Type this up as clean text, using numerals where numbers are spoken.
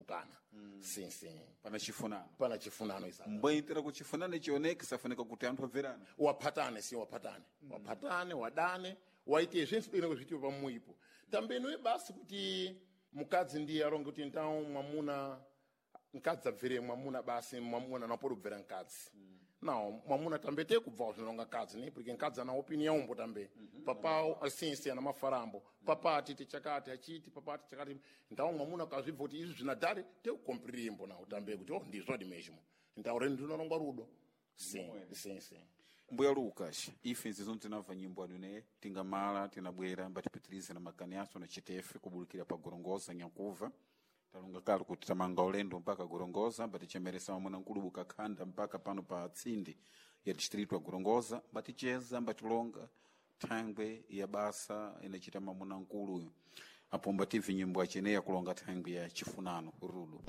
Kana sim sim. Pana chifunano. Pana chifunano isa. Mbwaitira kuti chifunano chioneke safunika kuti anthu abverane. Waphatane, si waphatane, waphatane, wadane, waite zvense bwino zvitiwe pamuipo tambenoe basi kuti mukadzi ndiye aronge kuti então mwamuna mkadzi abvere mwamuna basi, mwamuna napori kubvera mkadzi. Não, mwamuna tambe te kubva zvinonga mkadzi ne, porque mkadzi ana opinião mbo tambe. Papa assim sim ana mafarambo, papa atiti chakati achiti, papa ati chakati. Então mwamuna kazvibva kuti izvi zvinadhari te kukompirimbo nawo tambe kuti oh, ndizvodi mesmo. Então reni ndinonongwa rudo, sim sim sim. Mbuya Lucas, ife nzizo tinamva nyimbo anune tingamala tinabwera mbatipitirize na makani aso na chitefe kubulikira pa Gorongosa nyakuva talunga kale kuti tamanga ulendo mpaka Gorongosa mbatichemeresa mamuna nkulubu kakhanda mpaka pano pa tsindi ya distritu ya Gorongosa mbaticheza mbatilonga thangwe ya basa inachita mamuna nkuluyu apo mbativi nyimbo acheneya kulonga thangwe ya chifunano rudo.